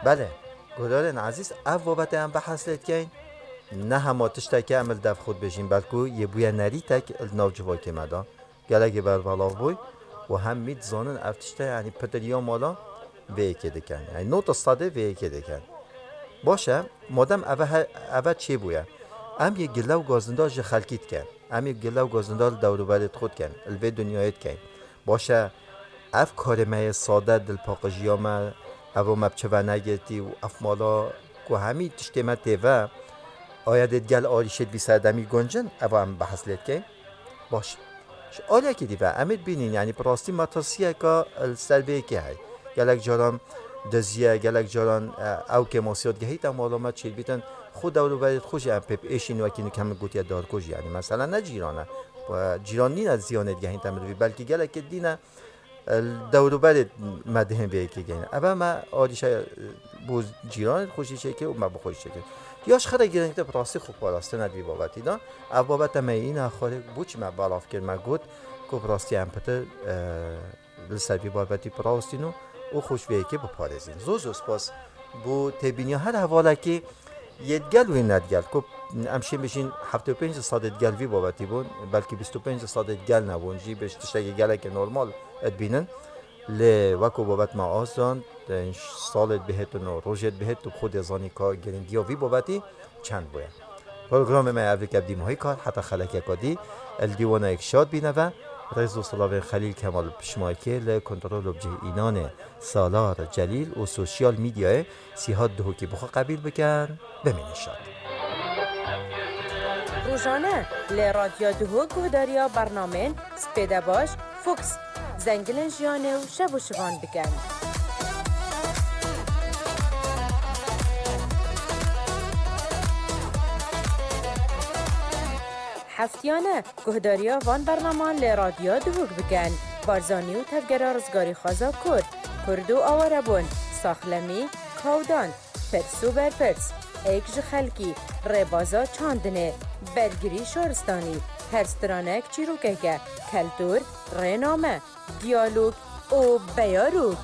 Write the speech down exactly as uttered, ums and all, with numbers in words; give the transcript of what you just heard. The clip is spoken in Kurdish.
Belê, guhdarên ezîz, ev babetê em behs lê dikeyn, ne hema tiştekê em li dev xwe dibêjin, belkû yê bûye nerîtek li nav civakê me de. Gelekî berbelav bûy û hemî dizanin ev tişte, yanî pitir ya mala vê yekê dikin. Yanî nod sedê vê yekê dikin. Baş e, madem eve he-, eve çêbûye, em yê gile û gazinda ji xelkî dikin. Em yê gile û gazinda li dewrûberê xwe dikin, li vê dinyayê dikin. Baş e, ev karê me yê sade, dilpaqijiya me, eva me bi çi venegirtî û ev mala ku hemî tiştê me tê ve, aya dê digel arîşê di vî serdemî guncin, eva em behs lê dikeyn. Baş. Ji aliyekî dî ve em ê dibînin, yanî bi rastî metirsiyeke li ser vê yekê heye. Gelek caran diziye, gelek caran, e, ew kêmasiya digehîte mala me çêdibîtin, xwe dewrûberê xwe jî em pê biêşîn wekî nû ke min gotiye darkujî, yanî mesela ne cîran e. Cîran nîne ziyanê digehînte mirovî, belkî gelekê dî ne, e, li dewrûberê me dihên vê yekê gehîne. Eve me alîşa, e, bo cîranê xwe jî çêkir û me bi xwe jî çêkir. Ya ji xwe re girîngtir bi rastî xwe parastina di vî babetî de. Ev babete me yîna xwarê bû çi me belav kir, me got ku bi rastî em pitir, e, li ser vî babetî birawestîn û, û xwe ji vê yekê biparêzin. Zor zor spas bo têbîniya her hevalekî yê digel wê ne digel. Ku em şên bijîn heftê û pênc sedê digel vî babetî bûn, belkî bîst û pênc sedê digel nebûn jî, bi tiştekî gelekî normal dibînin. Lê weko babet me azand, salê dibihêtin û rojê dibihêt, tu xwe dê zanî ka girîngiya vî babetî çend bûye. Programê me ev dike bi dîmahî kar, heta xelekeka dî, li dîwanayek şad bîne ve, rêz û silavên Xelîl Kemal Pişmakê li kontrol û bicih înanê Salar Celîl û sosyal medyayê Sîhat Duhokî bi xwe qebîl bikin. Bimînin şad. Rojane li Radyo Duhok guhdariya bernamên Spêde Baş, Fox, Zengilên Jiyanê û Şev û Şivan bikin. Heftiyane guhdariya van bernaman li Radyo Duhok bikin. Barzanî û tevgera rizgarîxwaza Kurd, Kurd û awarebûn, saxlemî, kawdan, pirs û berpirs, êk ji xelkî, rêbaza çandinê, bergirî şaristanî, her stranek çîrokeke, keltûr, rêname, diyalog û beyarok.